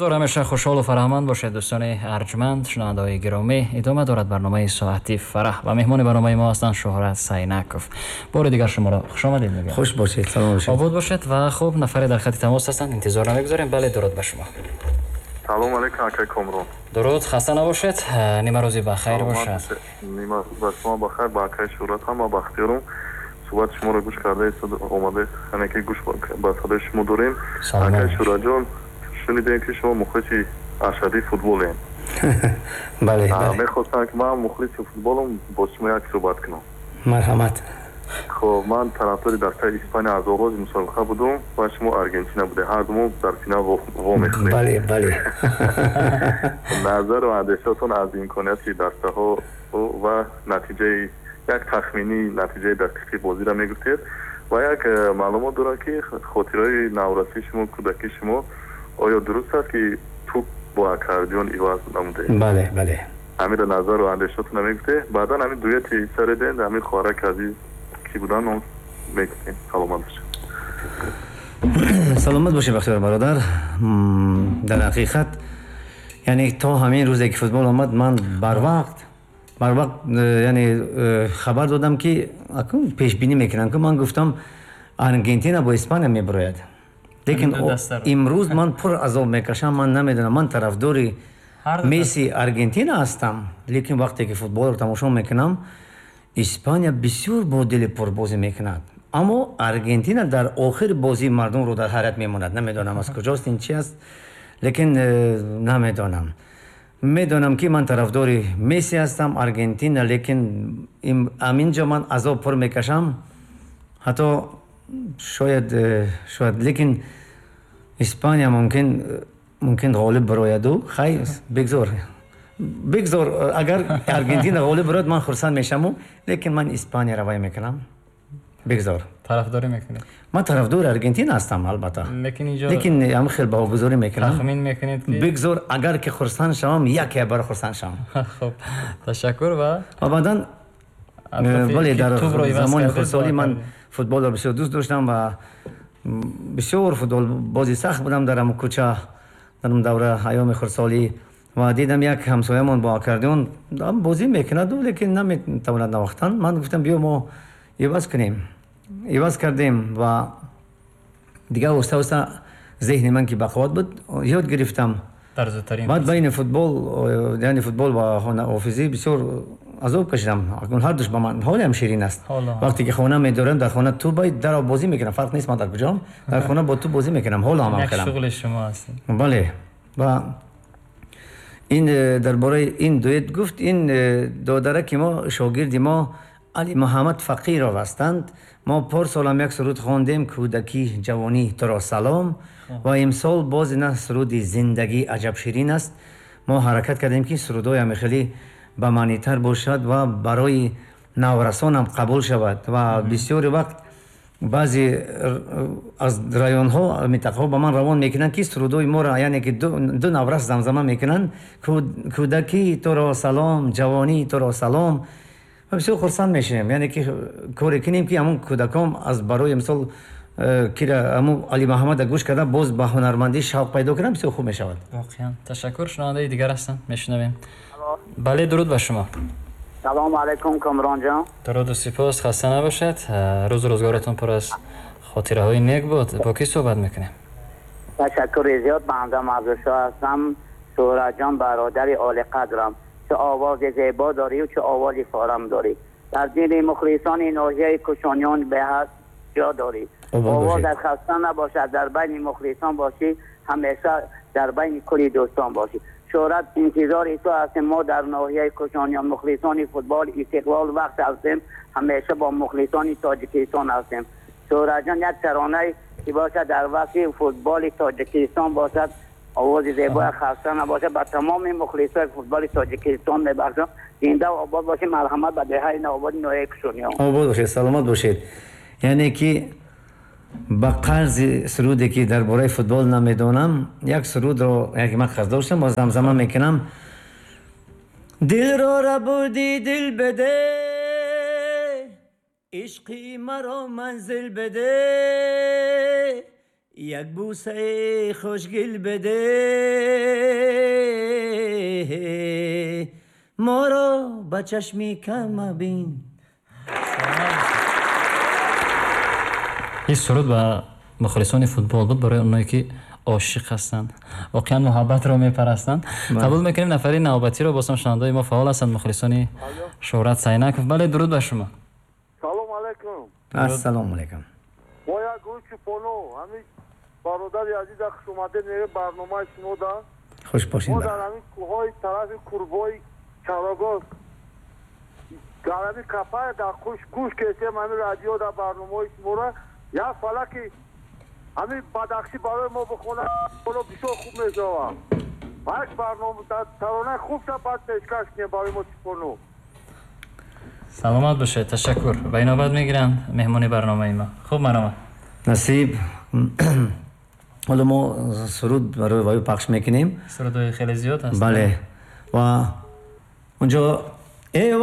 Бигзор ҳамеша хушҳолу фараҳманд бошед, дӯстони арҷманд, шунавандаҳои гиромӣ. Идома дорад барномаи Соати фараҳ ва меҳмони барномаи мо ҳастанд Шуҳрат Сайнаков. Бори дигар шуморо хушомадед мегӯям. Хуш бошед, салом бошед. Обод бошед. Ва хуб, нафаре дар хати тамос ҳастанд, интизор намегузорем. Бале, дуруд ба шумо. Салом алейкум, акай Комрон. Дуруд, хаста набошед, нимарӯзи бахайр бошад. Нимарӯз ба шумо бахайр, ба акай Шуҳрат ҳам, бахтиёрум. Суҳбати шуморо гӯш карда омада, яъне ки гӯш ба садои шумо дорем. Акай Шуҳратҷон, шунидем, ки шумо мухлиси ашадии футболем. Бале. Мехостам, ки ман мухлиси футболам, бо шумо як суҳбат кунам. Марҳамат. Хоб, ман тарафдори дастаи Испания аз оғози мусобиқа будум ва шумо Аргентина буде, ҳардумон дар финал вомехӯрем. Бале, бале. Назару андешаотон аз имконияти дастаҳо ва натиҷаи, як тахминӣ натиҷаи дақиқи бозиро мегуфтед. Ва як маълумот дорам, ки хотираи наврасии шумо, кӯдакии шумо, оё дуруст аст, ки туп бо аккордеон иваз намудед? Бале, бале. Ҳамира назару андешаотона мегуфтед. Баъдан ҳамин дуэти сареден, ҳамин хоҳараки азиз ки будан, он мегуфтем. Саломат бошед. Саломат бошед, Бахтиёр бародар. Дар ҳақиқат, яъне то ҳамин рӯзе ки футбол омад, ман барвақт яъне хабар додам, ки пешбинӣ мекунам, ки ман гуфтам, Аргентина бо Испания мебарояд. Лекин имрӯз ман пур азоб мекашам. Ман намедонам, ман тарафдори Месси, Аргентина ҳастам, лекин вақте ки футболро тамошо мекунам, Испания бисёр бо дили пурбозӣ мекунад, аммо Аргентина дар охири бозӣ мардумро дар ҳайрат мемонад. Намедонам, аз куҷост ин, чи аст, лекин намедонам. Медонам, ки ман тарафдори Месси ҳастам, Аргентина, лекин аминҷо ман азоб пур мекашам. Ҳатто шояд, лекин Испания мумкин ғолиб барояду. Хай, бигзор, бигзор. Агар Аргентина ғолиб барояд, ман хурсанд мешаваму, лекин ман Испанияро вай мекунам, бигзор. Тарафдорӣ мекунед? Ман тарафдори Аргентина ҳастам, албатта. Лекин инҷо лекин ҳам хел баҳогузорӣ мекунам. Тахмин мекунед, ки Бигзор, агар ки хурсанд шавам, яке бар хурсанд шавам. Хуб, ташаккур. Ва ва баъдан, бале, дар замони хурдсолӣ ман футболро бисёр дӯст доштам ва бисёр футболбози сахт будам дар ҳамн кӯча, дар он давра, айёми хурдсолӣ. Ва дидам, як ҳамсоямон бо аккордеон бозӣ мекунаду, лекин наметавонад навохтан. Ман гуфтам, биё, мо иваз кунем. Иваз кардем ва дигар оста оста зеҳни ман ки бақувват буд, ёд гирифтам. Баъд байни футбол, яъне футбол ва хонаофизӣ бисёр азоб кашидам. Ҳардуш ба ман ҳолиам ширин аст. Вақте ки хона медорам, дар хона ту даро бозӣ мекунам, фарқ нест ман дар куҷом, дар хона бо ту бозӣ мекунам, ҳоло ҳам хелам. Шуғли шумо аст. Бале. Ва ин дар бораи ин дуэт гуфт, ин додараки мо, шогирди мо Али Муҳаммад Фақиров ҳастанд. Мо порсолам як суруд хондем, «Кӯдакӣ, ҷавонӣ туро салом», ва имсол боз ина суруди «Зиндагӣ аҷаб ширин аст». Мо ҳаракат кардем, ки сурудҳои ҳами хеле ба маънитар бошад ва барои наврасонам қабул шавад. Ва бисёри вақт баъзе аз районҳо, минтақаҳо ба ман равон мекунанд, ки сурудҳои моро, яъне ки ду наврас замзама мекунанд, «Кӯдакӣ туро салом, ҷавонӣ туро салом», ва бисёр хурсанд мешавем. Яъне ки коре кунем, ки ҳамун кӯдакон аз барои мисол кира ҳамун Али Муҳаммада гӯш карда, боз ба ҳунармандӣ шавқ пайдо кунанд, бисёр хуб мешавад. Воқеан, ташаккур. Шунавандаи дигар ҳастанд, мешунавем. Бале, дуруд ба шумо. Салому алайкум, Комронҷон. Дуруду сипос, хаста набошед, рӯзу рӯзгоратон пур аз хотираҳои нек буд. Бо кӣ суҳбат мекунем? Ташаккури зиёд, банда Мавзӯшо ҳастам. Шӯҳратҷон, бародари олиқадрам, чӣ овози зебо дорӣ, чӣ овози форам дорӣ, дар дили мухлисони ноҳияи Кушониён беҳад ҷо дорӣ. Овозат хаста набошад, дар байни мухлисон бошӣ, ҳамеша дар байни кулли дӯстон бошӣ. Шӯҳрат, интизори ту ҳастем. Мо дар ноҳияи Кушониён мухлисони футбол Истиқлол вақт ҳастем, ҳамеша бо мухлисони Тоҷикистон ҳастем. Шӯҳратҷон, як таронае ки бошад, дар вақти футболи Тоҷикистон бошад, овози зебои, хаста набошад, ба тамоми мухлисои футболи Тоҷикистон мебахшам. Зинда обод бошед, марҳамат ба деҳаи Навободи ноҳияи Кушониён. Обод бошед, саломат бошед. Яъне ки ба қарзи суруде ки дар бораи футбол намедонам, як сурудро, яке ман қарз доштам, боз замзама мекунам. Дилро рабудӣ, дил беде, ишқи маро манзил беде. Як бӯсаи хушгел бде, моро ба чашми кам мабин. Ин суруд ба мухлисони футбол буд, барои оное ки ошиқ ҳастанд, воқеан муҳаббатро мепарастанд. Қабул мекунем нафари навбатиро. Боз ҳам шунавандаҳои мо фаъол ҳастанд, мухлисони Шӯҳрат Сайнаков. Бале, дуруд ба шумо. Салом алайкум. Ассалому алайкум. Мо як гурӯҳи чӯпоно, ҳамин бародари азиза, хушомадед мегӯем барномаи шумо да. Хуш бошед. Мо дар ҳамин кӯҳҳои тарафи Курбои Чарогоз дар ҳамин капая дар гӯш кесем ҳамин радио дар барномаҳои шуморо. Як фалаки ҳамин Бадахшӣ барои мо бихонад, бисёр хуб мешавад. Як барнома таронаи хубша баъд пешкаш кунем барои мо чӯпоно. Саломат бошед, ташаккур. Ба инобат мегиранд меҳмони барномаи мо. Хуб, марҳамат. Насиб, ҳоло мо суруд барои ваю пахш мекунем. Сурудҳои хеле зиёд ҳаст. Бале, ва унҷо э